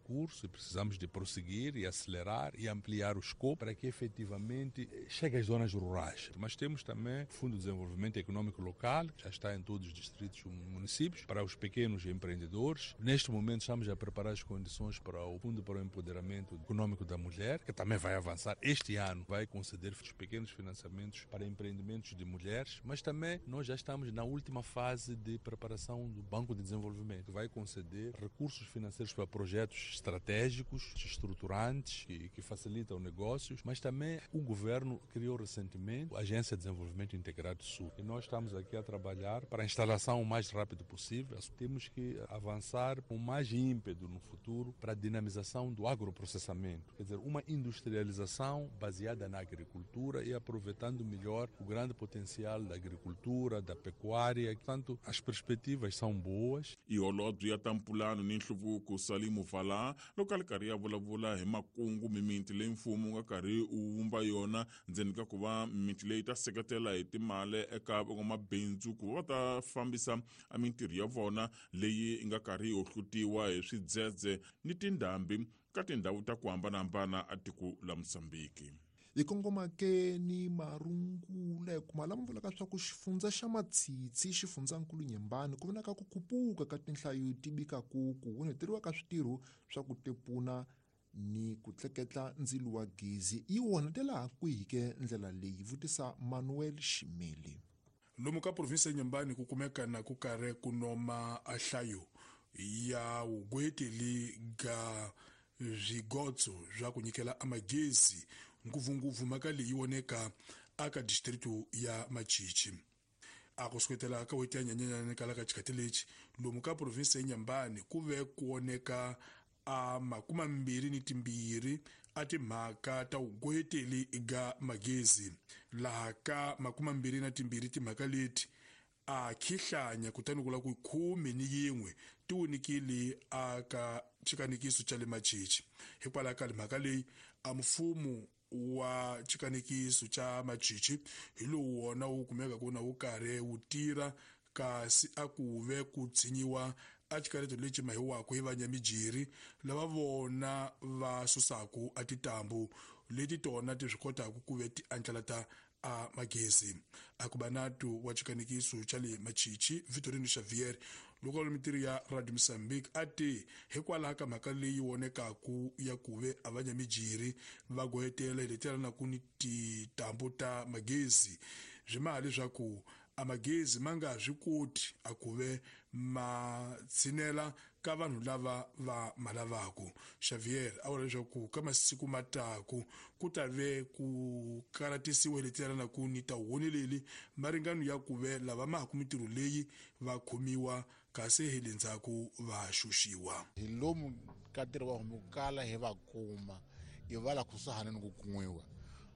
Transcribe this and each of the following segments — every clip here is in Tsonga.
curso e precisamos de prosseguir e acelerar e ampliar o escopo para que efetivamente chegue às zonas rurais. Mas temos também o Fundo de Desenvolvimento Econômico Local, que já está em todos os distritos e municípios, para os pequenos empreendedores. Neste momento estamos a preparar as condições para o Fundo para o Empoderamento Econômico da Mulher, que também vai avançar este ano, vai conceder os pequenos financiamentos para empreendimentos de mulheres, mas também nós já estamos na última fase de preparação do Banco de Desenvolvimento, que vai conceder recursos financeiros para projetos estratégicos, estruturantes, que facilitam negócios, mas também o governo criou recentemente a Agência de Desenvolvimento Integrado Sul. E nós estamos aqui a trabalhar para a instalação o mais rápido possível. Temos que avançar com mais ímpeto no futuro para a dinamização do agroprocessamento, quer dizer, uma industrialização baseada na agricultura e aproveitando melhor o grande potencial da agricultura, da pecuária. Portanto, as perspectivas são boas. I holobye ya ta mpulano ni nhluvuko Salimu Vala loko a ri karhi ya vulavula hi makungu mimiti leyi mfumo wu nga karhi wu vumba yona ndzeni ka ku va mimiti leyi ta seketela hi timali eka van'wamabindzu ku va va ta fambisa a mintirho ya vona leyi yi nga karhi yi hohlutiwa hi swidzedze ni tindhambi ka tindhawu ta ku hambanahambana a tiko la Mozambiki. Hi kongoma ke ni marungula hi kuma lama vulaka swa ku xifundza xa Matsitsi, xifundzankulu Nyembani, ku vonaka ku khupuka ka tinhlayo ti bikaku ku onheteriwa ka switirho swa ku tepuna ni ku tleketla ndzilo wa gezi. Yi onhetela kwihi ke ndlela leyi? Vutisa Manuel Ximeli. Lomu ka provinsi ya Nyembani ku kumeka na ku karhi ku noma a hlayo ya wugweteli ga swigotso swa ku nyikela amagezi, ngopfungopfu mhaka leyi voneka aka distritu ya Machichi. A ku suketela ka wheti ya Nyenyenyani kala ka xikhathi lexi lomu ka provinsi ya Nyembani ku ve ku voneka a 22 a timhaka ta wugweteli ga magezi, laha ka 22 timhaka leti a khihlanya kutani kula ku 11 ti wunikile aka xikanikiso xa le Machichi. Hikwalaho ka mhaka leyi a mfumo wa xikanikiso xa Machichi hi lowu wona wu kumeka ku na wu karhi wu tirha, kasi a ku ve ku tshinyiwa a xikareto lexi mahiwaka hi vanyamijiri lava vona va susaku a titambu leti tona ti swi kotaka ku ve ti andlalata a magezi. A ku banatu wa xikanikiso xa le Machichi Vitorino Xavier loko a mintirho ya Radio Mozambique a ti hikwalaho ka mhaka leyi vonekaku ya ku ve a vanyamijiri va gohetela hi letela na ku ni titambu ta magezi swi maha leswaku a magezi ma nga swi koti a ku ve ma tshinela ka vanhu lava va ma lavaku. Xavier a vula leswaku ka masiku mataku ku ta ve ku karatisiwa hi letela na ku ni ta honeleli maringano ya ku ve lava ma ha ku mintirho leyi va khomiwa kasi hi le ndzhaku va xuxiwa. Hi lomu ka ntirho wa homu kala hi va kuma hi va la kusuhani ni ku kun'wiwa.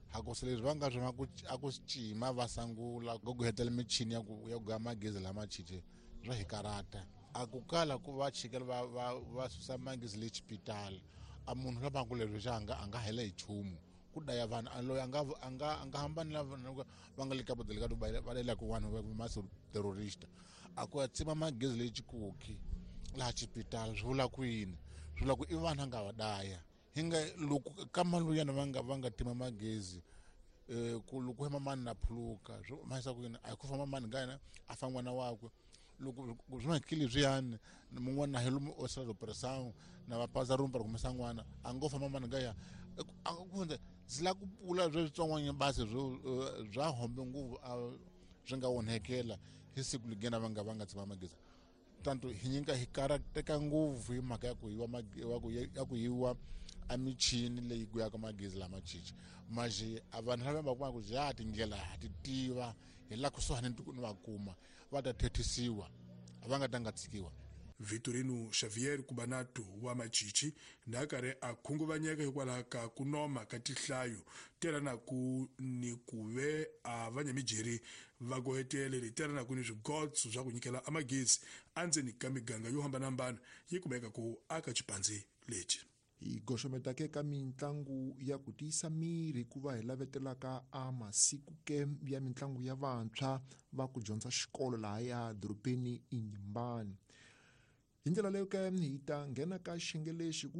Hakusi leswi va nga swona a ku cima va sangula ku hetela michini ya ku gaya magezi lama chiche swa hi karata. A ku kala ku va chikela va susa magezi le xipitali. A munhu la va ku leswi xa a nga hela hi nchumu. Ku daya vanhu, a loyi a nga hambani na vanhu va nga le ka bodele ka Dubai, va lela ku vanhu va maso terrorista. A ku ya tsima magezi le Chikoki laha xipitali swi vula ku yini? Swi vula ku i vanhu a nga va daya. Hi nga loko ka maluyana va nga tima magezi, ku loko hema mani na phuluka, swi mahisa ku yini? A hi ku famba mani nga yena, a fa n'wana wakwe. Loko swi nga kili leswiyani, mun'wana hi lomu o sala operation, na va paza room para kumesa n'wana, a ngo famba mani nga ya. A ku hundza, ndzi lava ku pfula swa switsongwana basi bya hombe ngopfu, a swi nga onhekela hi siku ligena va nga tsema magezi. Tanto hi nyika hi karateka ngopfu hi mhaka ya ku yiwa ya ku ya ku yiwa a michini leyi guyaka magezi lama chichi. Maje a vanhu lava va kuma ku ja tindlela ha ti tiva, hi la kusuhani ni va kuma, va ta thethisiwa, a va nga ta nga tshikiwa. Vitorino Xavier Kubanatu wa Machichi na karhi a khunguvanyeka hikwalaho ka ku noma ka tihlayo telanaku ni ku ve a vanyamijeri va gohetele leti telanaku ni swigotso swa ku nyikela amagezi endzeni ka miganga yo hambanahambana yi kumeka ku aka xipandzi lexi. Hi goxometa ke ka mitlangu ya ku tiyisa miri ku va hi lavetelaka a masiku ke ya mitlangu ya vantshwa va ku dyondza xikolo laha ya dorobeni Inhambane. Hi ndlela leyo ke hi ta nghena ka xiyenge lexi ku